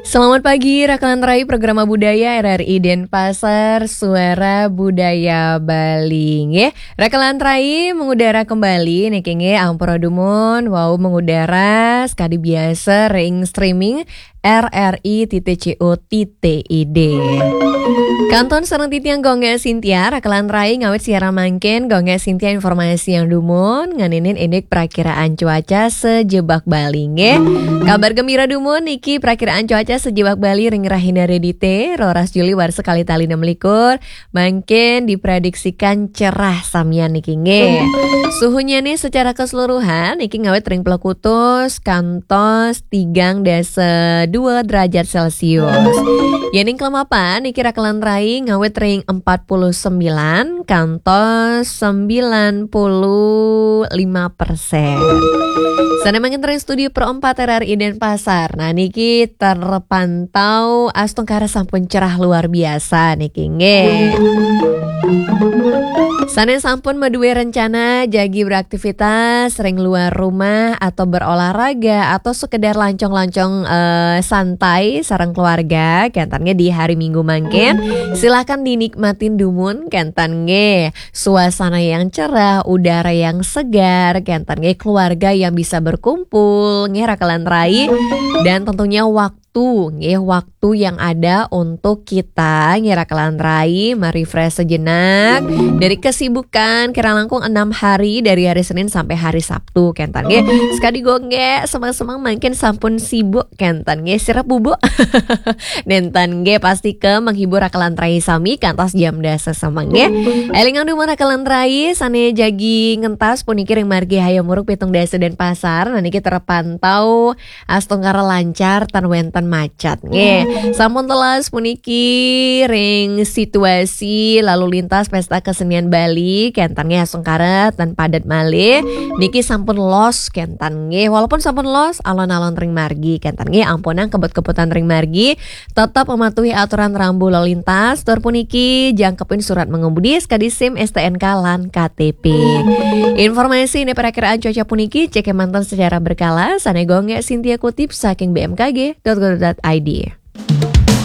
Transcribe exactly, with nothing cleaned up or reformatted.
Selamat pagi, Rakelan Rai, Programa Budaya R R I Denpasar, Suara Budaya Bali. Nggih, Rakelan Rai mengudara kembali niki nggih, ampura dumun, wau mengudara sekadi biasa ring streaming R R I titik C O titik I D. Kantun sareng titiang Gung Sintia, Rakelan Rai ngawit siaran mangkin, Gung Sintia informasi yang dumun, nganinin indik prakiraan cuaca sejebak Bali nggih. Kabar gembira dumun niki prakiraan cuaca sejebak Bali ring rahina Redite, roras Juli warsa kalih tali enam likur, mangkin diprediksikan cerah samian niki nggih. Suhunya nih secara keseluruhan niki ngawit ring puluh kutus kantos tigang dasa dua derajat Celcius. Yening kelemapan niki Rakelan Rai ngawit ring empat puluh sembilan kantos sembilan puluh lima persen. Sana mangkin ring studio Pro empat R R I Denpasar. Nah, niki terpantau astungkara sampun cerah luar biasa niki nggih. Sana sampun maduwe rencana jagi beraktivitas ring luar rumah atau berolahraga atau sekedar lancong-lancong, eh, santai sareng keluarga, kenten nggih di hari Minggu mangkin, silahkan dinikmatin dumun, kenten nggih. Suasana yang cerah, udara yang segar, kenten nggih, keluarga yang bisa berkumpul, nggih Rakelan Rai, dan tentunya waktu nggih, waktu yang ada untuk kita nggih Rakelan Rai merefresh sejenak dari kesibukan kira langkung enam hari, dari hari Senin sampai hari Sabtu, kenten nggih. Sekadi Gung nggih, semang-semang mangkin sampun sibuk, kenten nggih, sirep bubuk. Nenten nggih, pasti ke menghibur Rakelan Rai sami kantos jam dasa semeng nggih. Elingang dumun Rakelan Rai sane jagi ngentas puniki ring margi Hayam Wuruk pitung dasa Denpasar, nah niki terpantau astungkara lancar tan wenten macet nggih. Sampun telas puniki ring situasi lalu lintas Pesta Kesenian Bali, kenten nggih, astungkara tan padet malih. Niki sampun los, kenten nggih. Walaupun sampun los, alon-alon ring margi, kenten nggih, ampunang kebut-kebutan ring margi, tetap mematuhi aturan rambu lalu lintas. Tur puniki jangkepin surat mengemudi, sekadi SIM, STNK, lan KTP. Informasi ini perakiraan cuaca puniki cek manten secara berkala, sane Gung Sintia kutip saking B M K G dot go dot I D.